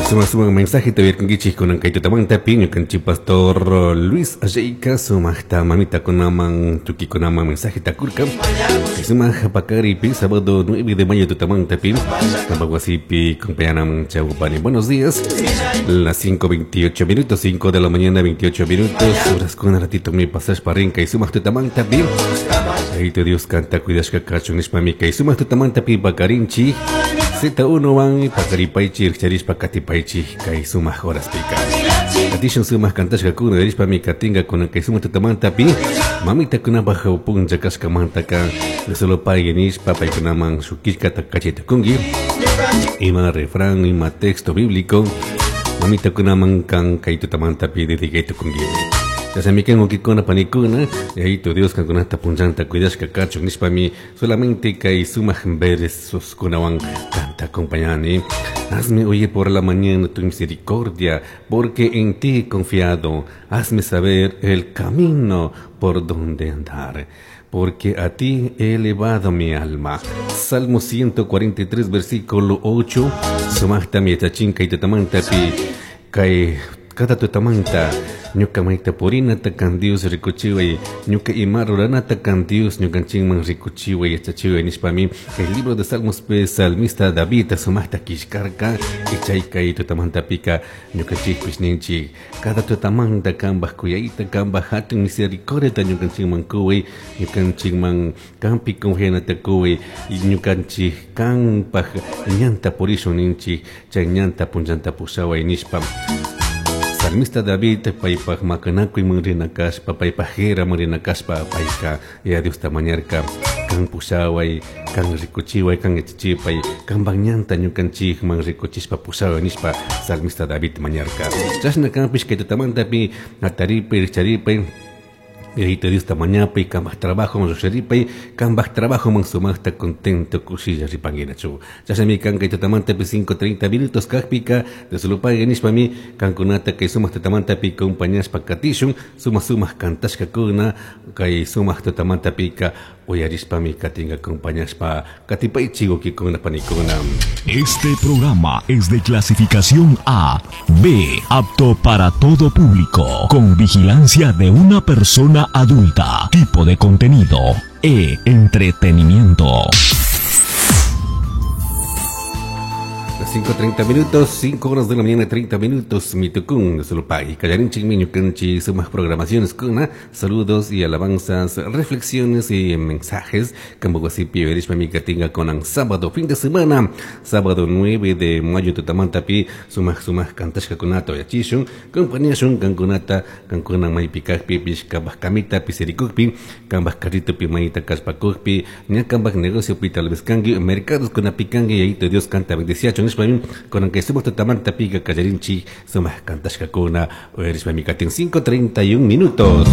Suma suma mensaje te uyarkankichik kunan kay tutamantapi ñukanchik pastor Luis Alleika sumaqta mamitakunaman tukikunaman mensajeta kurka. Sumaq pakaripi sábado 9 de mayo tutamantapi kampak wasipi compañanaman chawpani. Buenos días. Las 5:28 minutos, 5 de la mañana 28 minutos. Horas con ratito mi pasashpa rin kay sumaq tutamantapi. Ayito Dios kanta cuidashka kachun nishpami kay sumaq tutamantapi pakarinchik. Z1 wan pakaripaychik rikcharishpa katipaychik kay sumaq horaspika. Katishun sumaq kantashkakuna rishpami katinka kunan kay sumaq tutamantapi mamitakunapaj punlla kashkamantaka solo pay nishpa paykunaman shuk killkata kachaytukunki. Ima refrán, ima texto bíblico mamitakunaman kan kay tutamantapi dedicaytukunki. Chashnami kan wawkikuna panikuna, Yayito Dios kankunata punllanta cuidashka kachun nishpami solamente kay sumaq versoskunawan kanta acompañani. Hazme oír por la mañana tu misericordia, porque en ti he confiado. Hazme saber el camino por donde andar, porque a ti he elevado mi alma. Salmo 143, versículo 8. Sumaqtami yachachin kay tutamantapi kay cada tutamanta ñuka mayta purinata kan Dios rikuchiway, ñuka ima ruranata kan Dios ñukanchikman rikuchiway yachachiway nishpami el libro de Salmos pe salmista David sumaqta killkarka chay kay tutamantapika ñukanchikpish ninchik cada tutamanta kanpaj kuyayta kanpaj hatun misericordiata ñukanchikman kuway, ñukanchikman kanpi confianata kuway, ñukanchik kanpaj ñanta purishun ninchik chay ñanta punllanta pushaway nishpa. Salmista David paypaj maqanakuyman rina kashpa, paypaj guerraman rina kashpa, payka Yaya Diosta mañarka, kan pushaway, kan rikuchiway, kan yachachipay, kanpaj ñanta ñukanchikman rikuchishpa pushaway nishpa salmista David mañarka. Chashna kanpish kay tutamantapi hataripi rikcharipay Yayito Diosta mañapay, kanpaj trabajoman lluksharipay, kanpaj trabajoman sumaqta contento kushilla ripanguinachu. Chashnami kan kay tutamantapi 5:30 minutos kajpika, Dios nishpami kankunata kay sumaq tutamantapi compañashpa katishun, sumaq sumaq kantashkakuna kay sumaq tutamantapika uyarishpami katinka acompañashpa katipaychik wawkikuna panikuna. Este programa es de clasificación A, B, apto para todo público, con vigilancia de una persona adulta. Tipo de contenido, E, entretenimiento. Las 5:30 minutos, 5 horas de la mañana, 30 minutos, mitucun, Sulpay, Callarinchik, Miñucanchi, sumas programaciones con saludos y alabanzas, reflexiones y mensajes. Campo Guasipi, Verishma, Micatinga, con sábado, fin de semana, sábado 9 de mayo, Tutamantapi, sumas, sumas, cantashka kunato, yachishun, compañía shun, cancunata, cancuna, maipicajpi, pishkabaj kamita, pisirikukpi, kambaj carrito, pimaita, kashpakukpi, ñakambaj negocio, pi, tal vez kangui, mercados con apicangui, y ahí te Dios canta, bendeciacho, nishpami, con que sumas tutamanta pica callarinchi, sumas cantashkakuna, uyarishpami katin 5:31 minutos.